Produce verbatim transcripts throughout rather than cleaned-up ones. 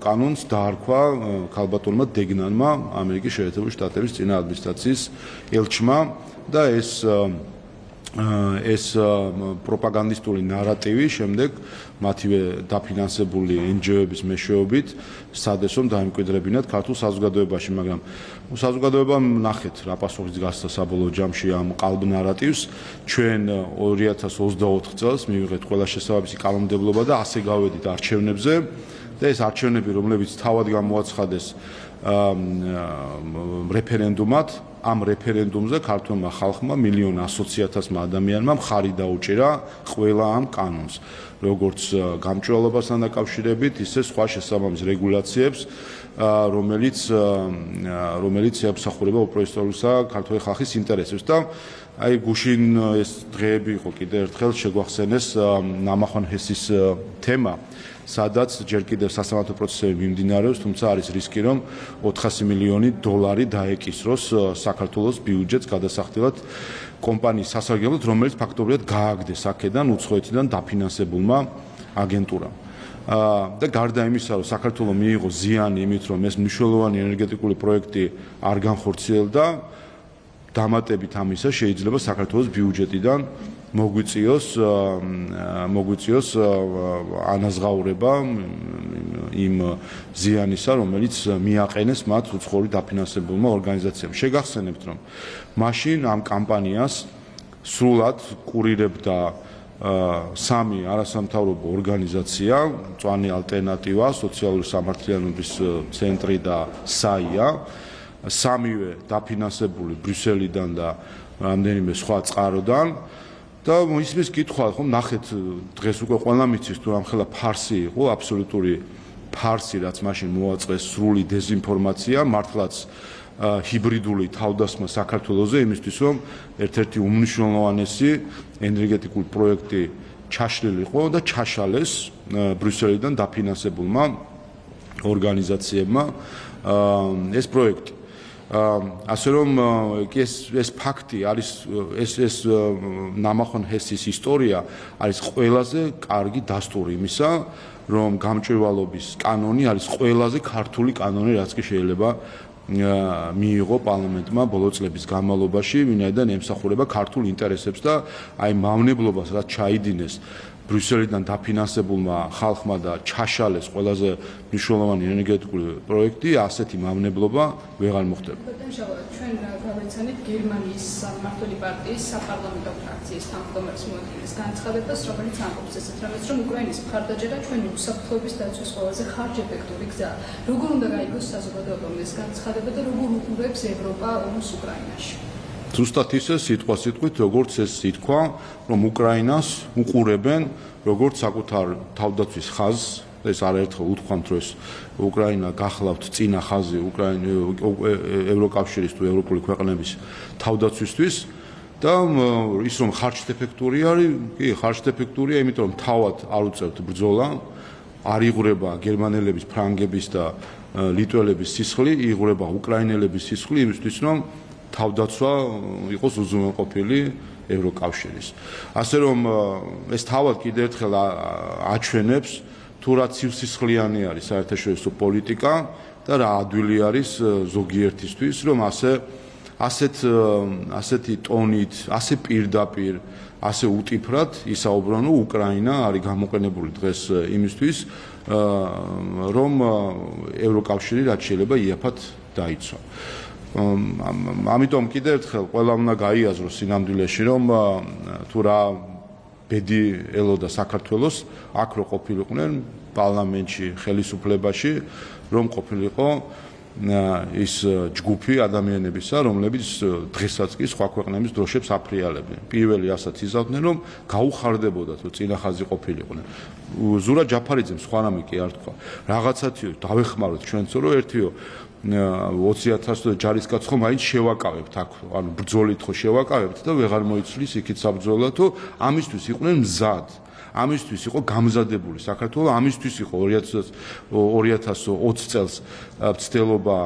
კანონს დაარქვა ქალბატონმა დეგნანმა ამერიკის შეერთებული შტატების წინა ადმინისტრაციის ელჩმა და ეს ეს პროპაგანდისტული ნარატივი შემდეგ მათივე დაფინანსებული ენჯიოების მეშვეობით სცადეს რომ დაემკვიდრებინათ ქართულ საზოგადოებაში, მაგრამ საზოგადოებამ ნახეთ რა პასუხიც გასცა საბოლოო ჯამში ამ ყალბ ნარატივს. ჩვენ ორი ათას ოცდაოთხ წელს მივიღეთ ყველა შესაბამისი კანონმდებლობა და ასე გავედით არჩევნებზე და ეს არჩევნები, რომლებიც თავად გამოაცხადეს რეფერენდუმად, ამ რეფერენდუმზე ქართულმა ხალხმა მილიონ ასოციათასმა ადამიანმა მხარი დაუჭირა ყველა ამ კანონს, როგორც გამჭვირვალობასთან დაკავშირებით, ისე სხვა შესაბამის რეგულაციებს, რომელიც რომელიც ემსახურება უპირატესობისა ქართული ხალხის ინტერესებს და აი გუშინ ეს დღეები იყო კიდევ ერთხელ შეგვახსენეს ნამახვან ჰესის თემა, სადაც ჯერ კიდევ სასამართლო პროცესები მიმდინარეობს, თუმცა არის რისკი, რომ ოთხასი მილიონი დოლარი დაეკისროს საქართველოს ბიუჯეტს გადასახდელად კომპანიის სასარგებლოდ, რომელიც ფაქტობრივად გააგდეს აქედან უცხოეთიდან დაფინანსებულმა აგენტურამ. და გარდა იმისა, რომ საქართველოს მიიღო ზიანი იმით, რომ ეს მნიშვნელოვანი ენერგეტიკული პროექტი არ განხორციელდა, დამატებით ამისა შეიძლება საქართველოს ბიუჯეტიდან მოგვიწიოს მოგვიწიოს ანაზღაურება იმ ზიანისა, რომელიც მიაყენეს მათ უცხოური დაფინანსებულმა ორგანიზაციამ. შეგახსენებთ, რომ მაშინ ამ კამპანიას სრულად კურირებდა სამი არასამთავრობო ორგანიზაცია, მწვანე ალტერნატივა, სოციალური სამართლიანობის ცენტრი და საია, სამივე დაფინანსებული ბრიუსელიდან და რამდენიმე სხვა წყაროდან. და ისმის კითხვა, ხომ ნახეთ დღეს უკვე ყველა მიცის თუ ამხელა ფარსი იყო, აბსოლუტური ფარსი, რაც მაშინ მოაწყეს სრული დეზინფორმაცია, მართლაც ჰიბრიდული თავდასხმა საქართველოზე იმისთვის, რომ ერთ-ერთი უმნიშვნელოვანესი ენერგეტიკული პროექტი ჩაშლილიყო და ჩაშალეს ბრიუსელიდან დაფინანსებულმა ორგანიზაციებმა ეს პროექტი. ასე რომ ეს ეს ფაქტი არის ეს ეს ნამახვან ჰესის ისტორია არის ყველაზე კარგი დასტური იმისა, რომ გამჭვირვალობის კანონი არის ყველაზე ქართული კანონი, რაც კი შეიძლება მიიღო პარლამენტმა ბოლო წლების განმავლობაში, ვინაიდან ემსახურება ქართულ ინტერესებს და აი მავნებლობას, რაც ჩაიდინეს ბრიუსელიდან დაფინანსებულმა ხალხმა და ჩაშალეს ყველაზე მნიშვნელოვანი ენერგეტიკული პროექტი, ასეთი მავნებლობა ვეღარ მოხდება. ჩვენ გავეცანით გერმანიის მმართველი პარტიის საპარლამენტო ფრაქციის თავმჯდომარის მოადგილეს განცხადებას, რომელიც ამბობს ესეთ რამეს, რომ უკრაინის მხარდაჭერა ჩვენი უსაფრთხოების დაცვის ყველაზე ხარჯეფექტური გზა. როგორ უნდა გაიგოს საზოგადოებამ ეს განცხადება და როგორ უყურებს ევროპა ომს უკრაინაში? ზუსტად ისე სიტყვა სიტყვით, როგორც ეს ითქვა, რომ უკრაინას უყურებენ როგორც საკუთარ თავდაცვის ხაზს, ეს არაერთხელ უთქვამთ, რომ ეს უკრაინა გახლავთ წინა ხაზი ევროკავშირის თუ ევროპული ქვეყნების თავდაცვისთვის და ის რომ ხარჯეფექტური არის, კი, ხარჯეფექტურია, იმიტომ რომ თავად არ უწევთ ბრძოლა, არ იღვრება გერმანელების, ფრანგების და ლიტველების სისხლი, იღვრება უკრაინელების სისხლი იმისთვის, რომ თავდაცვა იყოს უზრუნველყოფილი ევროკავშირის. ასე რომ ეს თავად კიდევ ერთხელ აჩვენებს თუ რა ცივსისხლიანი არის საერთაშორისო პოლიტიკა და რა ადვილი არის ზოგიერთისთვის, რომ ასე ასეთ ასეთი ტონით, ასე პირდაპირ, ასე უტიფრად ისაუბრონ, რომ უკრაინა არის გამოყენებული დღეს იმისთვის, რომ ევროკავშირი რაც შეიძლება იაფად დაიცვა. ამიტომ კიდევ ერთხელ ყველა უნდა გაიაზროს სინამდვილეში, რომ თუ რა ბედი ელოდა საქართველოს, აქ რო ყოფილიყვნენ პარლამენტში, ხელისუფლებაში, რომ ყოფილიყო ის ჯგუფი ადამიანებისა, რომლებიც დღესაც კი სხვა ქვეყნების დროშებს აფრიალებდნენ. პირველი ასაც იზავდნენ, რომ გაუხარდებოდათ, რომ წინა ხაზი ყოფილიყვნენ. ზურა ჯაფარიძემ სხვა რამე კი არ თქვა. რაღაცათიო დავეხმაროთ ჩვენცო, რომ ერთიო ოცი ათასი ჯარისკაცს ხო მაინც შევაკავებთ აქ, ანუ ბრძოლით ხო შევაკავებთ და ვეღარ მოიცვლის იქით საბრძოლოდ, თუ ამისთვის იყვნენ მზად. ამისთვის იყო გამზადებული საქართველო, ამისთვის იყო ორი ათას ოცი წელს მცდელობა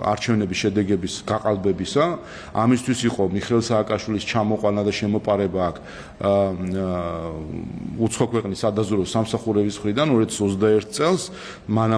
არჩევნების შედეგების გაყალბებისა, ამისთვის იყო მიხეილ სააკაშვილის ჩამოყვანა და შემოპარება აქ უცხო ქვეყნის სადაზვერვო სამსახურების მხრიდან ორი ათას ოცდაერთი წელს, მანამდე